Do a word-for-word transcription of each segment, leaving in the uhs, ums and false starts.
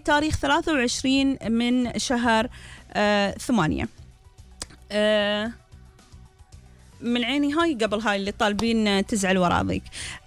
بتاريخ ثلاثة وعشرين من شهر آه ثمانية. آه من عيني هاي قبل هاي اللي طالبين تزعل وراضيك.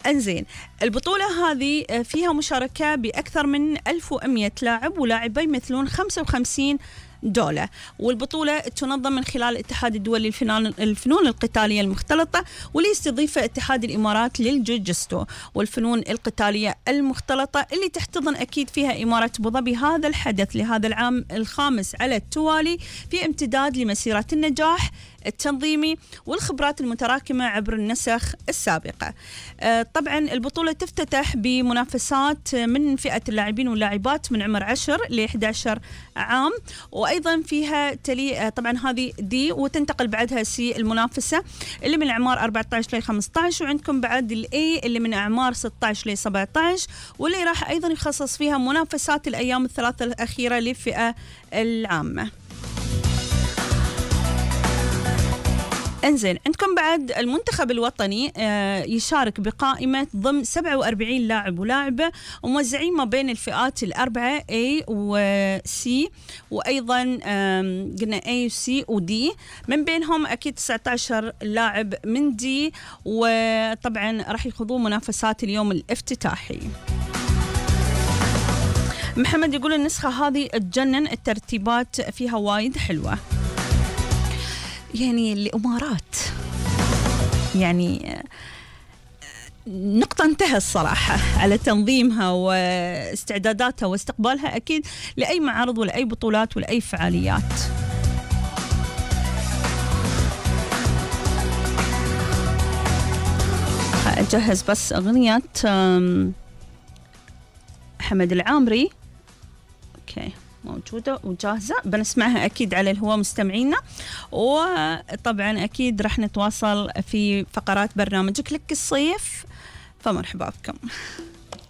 انزين، البطولة هذه فيها مشاركة بأكثر من ألف ومئة لاعب ولاعبين يمثلون خمسة وخمسين دولة، والبطولة تنظم من خلال الاتحاد الدولي للفنون القتالية المختلطة، واللي يستضيفه اتحاد الإمارات للجوجستو والفنون القتالية المختلطة، اللي تحتضن أكيد فيها إمارة أبو ظبي هذا الحدث لهذا العام الخامس على التوالي، في امتداد لمسيرة النجاح التنظيمي والخبرات المتراكمة عبر النسخ السابقة. آه طبعا البطولة تفتتح بمنافسات من فئة اللاعبين واللاعبات من عمر عشر ل إحدى عشر عام، وأيضا فيها تلي آه طبعا هذه دي، وتنتقل بعدها سي المنافسة اللي من أعمار أربعة عشر ل خمسة عشر، وعندكم بعد الأي اللي من أعمار ستة عشر ل سبعة عشر، واللي راح أيضا يخصص فيها منافسات الأيام الثلاثة الأخيرة للفئة العامة. انزين، عندكم بعد المنتخب الوطني آه يشارك بقائمة ضمن سبعة وأربعين لاعب ولاعبة، وموزعين ما بين الفئات الأربعة A و C، وأيضا قلنا A و C و D، من بينهم أكيد تسعة عشر لاعب من D، وطبعا راح يخوضون منافسات اليوم الافتتاحي. محمد يقول النسخة هذه تجنن، الترتيبات فيها وايد حلوة. يعني الإمارات يعني نقطة انتهى الصراحة على تنظيمها واستعداداتها واستقبالها أكيد لأي معارض ولا أي بطولات ولا أي فعاليات. أجهز بس أغنية حمد العامري. أوكي، موجودة وجاهزة، بنسمعها أكيد على الهواء مستمعينا، وطبعا أكيد رح نتواصل في فقرات برنامجك لك الصيف، فمرحبا بكم.